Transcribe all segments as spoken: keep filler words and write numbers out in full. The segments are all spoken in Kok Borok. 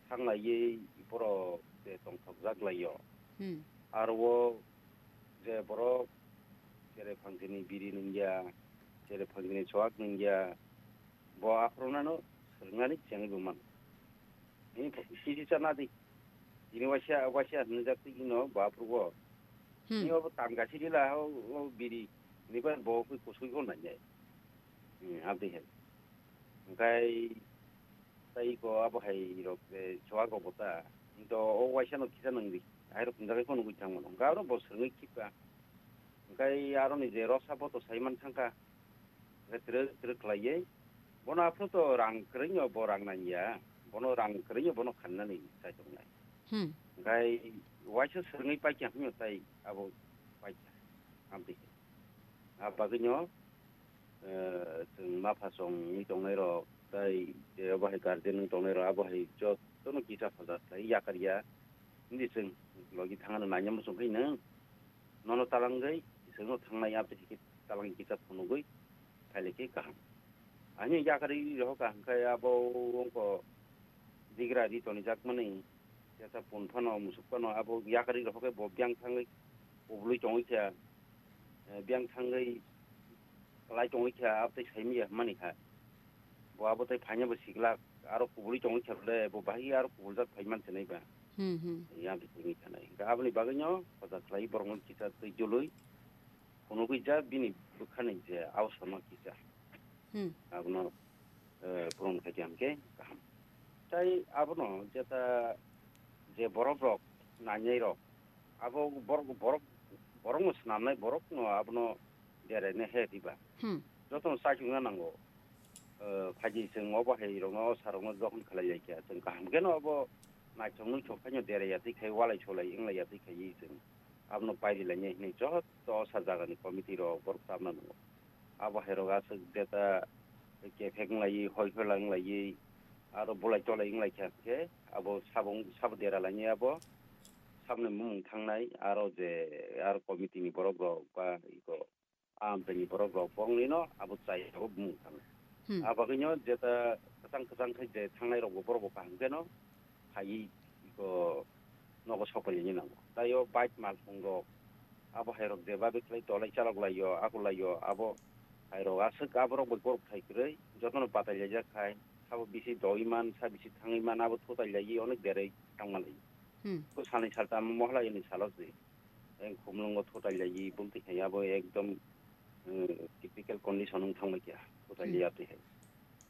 thanglaiwi borok je tongthokjak lai-o. Hmm. Aro o je borok cherep phangsini biri nungya, cherep phangsini chuak nungya, bo aphuru nano swrwngnani chengwi bo mano. Tini kisi cha nadi. Tini waisa, waisa hinwi jak twi ino bo aphuru bo. Hmm. Tini obo tam gasi rila o, o biri. Tini bai bo kwi kusui ko nai nai. Hmm, abdi hai. Hwnkhe tei ko abo hai rok, eh, chuak rok bo ta. Hwnkhe o waisa no kisa nang di. Hai rok hwnjagwi phano nugwi thang mano. Hwnkhe aro bo swrwngwi khipa. Hwnkhe aroni je rosa bo to sai man thangkha. Hwnkhe twrwk twrwk khlaiwi. Bono aphuru to rang kwrwino bo rang nangya. Bono rang kwrwino bono khanani chaitongnai. Hmm. Hwnkhe waisa swrwngwi paikha hwnyo tai abo paikha. Amtwi. A bagwino, eh, chwng mapha chongwi tongnairok, tai, eh, abo hai guardian wng tongnairok, abo hai jotono kisa hoja khlai yakar ya. Hindi chwng logi thangna naina muchung khai nwng. Nono talangwi, chwngno thangnai abo hai khe talang kisa phunugwi phailaikhai kaham. Ani yakarwi rohor kaham khe abo wngkha digra ri tonijakmani, jesa pun phano, musuk phano abo yakarwi rohor khe bo biyang thangwi kubului tongwi kha, eh, biyang thangwi kwlai tongwi kha, abo tei saimanya hwnmani kha. Bo abo tei phaina bo siklak, aro kubului tongwi kha le, bo bahai aro kubuljak phai man se nai ba. Hmm, hmm. Yang twi tongwi kha nai. Hwnkhe aboni bagwino hoja khlai borokno kisa twi joloi phunugwi ja bini bwkhani je ausa no kisa. Hmm. Abono, eh, puron khaikha hwnkhe kaham. Tai abono jeta je borok rok, nainai rok, abo borok, borok, borokno swnamnai borokno abono beraina he diba. Hmm. Jotono chaichungna nango. Eh, phaidi chwng obo hai rokno, osa rokno jokhon khlai lai kha, chwng kaham kheno obo naithok nuithok khaino deraiya twi khai, walai solai wng laiya twi khai chwng abono pairi lainai hinwi joto osa jagani committee rok borok tabna nango. Abo hai rok aswk jeta kephek wng laiwi, hoi phola wng laiwi, aro bolai tolai wng lai kha khe abo sabo, sabo dera lainai abo saboni mung thangnai, aro je aro committee ni borok rok ba iko amtani borok rok borokni no abo chai abo bumung thangnai. Hmm. A bagwino jeta kwchang kwchang khai je thangnai rok bo borok bo kaham kheno phaiwi iko nogo sokphailini nango. Tai o bike malkhung rok abo hai rok je babe khlai tolai chalok laio, ako laio, abo hai rok aswk abo rok bai borok thai kwrwi jotono batai laijak khai, sabo bisi dogwi man, sa bisi thangwi man, abo thutai laiwi onek berwi thangma lai. Hmm. Ko salni saltam mohla ini salo se. Eng khumlungo thutai laiwi bumtwi khai abo ekdom, eh, critical condition wng thangbai kha, thutai Hmm. liya twi hai.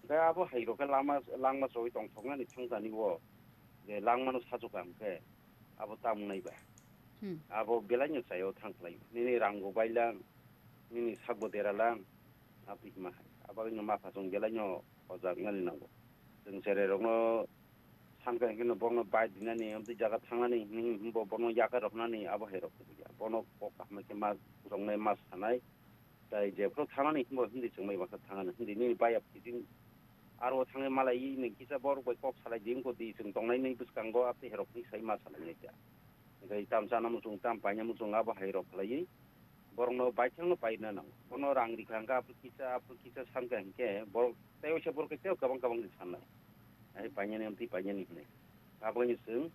Hwnkhe abo hai rok khe lama, langma choi tongthoknani thangtani o je langmano sajuka hwnkhe abo tamung nai ba. Hmm. Abo belaino chaio thang khlai. Nini rangbo bailang, nini sakbo deralang, aboni hima hai. Abagwino mapha chwng belaino hojak nani nango. Chwng cherai rokno Sankha hwnkhe no bono bai dinani, amtwi jaga thangnani hwnwi hwnbo bono yakar roknani abo hai rok ya. Bono kok kaham khe ma rwngnai ma sanai. Tai jephru thangnani hwnbo hindi chwngmai baksa thangnani hindi nini bai ap kiting aro thangnai malai nini kisa borok bai kok salai di wngko di chwng tongnai nini bwskango amtwi hai rok ni sai ma sanai nai kha. Hwnkhe tam chana muchung tam paina muchung abo hai rok khlaiwi. Borokno baithangno paina nango. Bono rang rikha hwnkhe aphuru kisa, aphuru kisa sankha hwnkhe borok tei waisa borok tei kwbang kwbang se sannai. Hai painani amtwi painani hwnwi. Aboni chwng,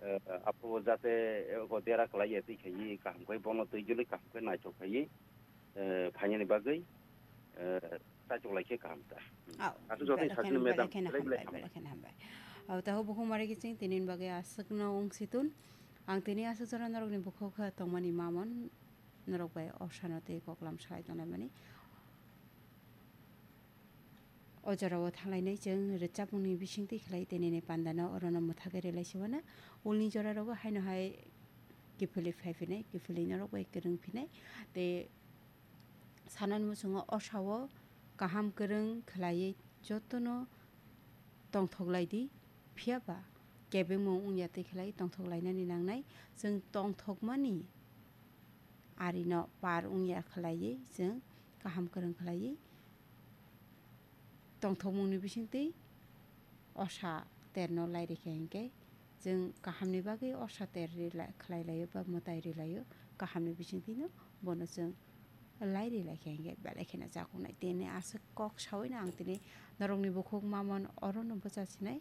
eh, aphuru jate, eh, o dera kwlaiya twi khaiwi kaham khe bono twi joloi kaham khe naithok khaiwi, eh, phainani bagwi, eh, chaitok lai khe kaham ta. Oh, Aswk joto belai sakni kheno, madam, belai kheno belai belai hambai, hambai. Belai kheno hambai. Oh, tahu bukhuk mari kiching tinin bagwi aswkno wng situn. Ang tini aswk jora norokni bukhuk kha tongmani mamon. Norok bai osano tei koklam salai tonglaimani. O jorao thanglainai chwng rwchapmungni bisingtwi khlai tei nini pandano orono mwthagwi rwlai siwana. Ulni jorarogo haino hai kiphilwi phai phinai, kiphilwi norok bai kwrwng phinai. Tei sanani muchungo osao kaham kwrwng khlaiwi jotono tongthok lai di, phiya ba kebengmung wngya twi khlai tongthok lainani nangnai. Chwng tongthokmani arino par wngya khlaiwi chwng kaham kwrwng khlaiwi tongthokmungni bisingtwi osa terno lai rikha hinkhe chwng kahamni bagwi osa ter rila-, khlai laio ba mwtai rwi laio, kahamni bisingtwino bono chwng lai rwi laikha hinkhe belai kheno chakunai. Tini aswk kok saui no ang tini norokni bukhuk mamon orono bwcha sinai.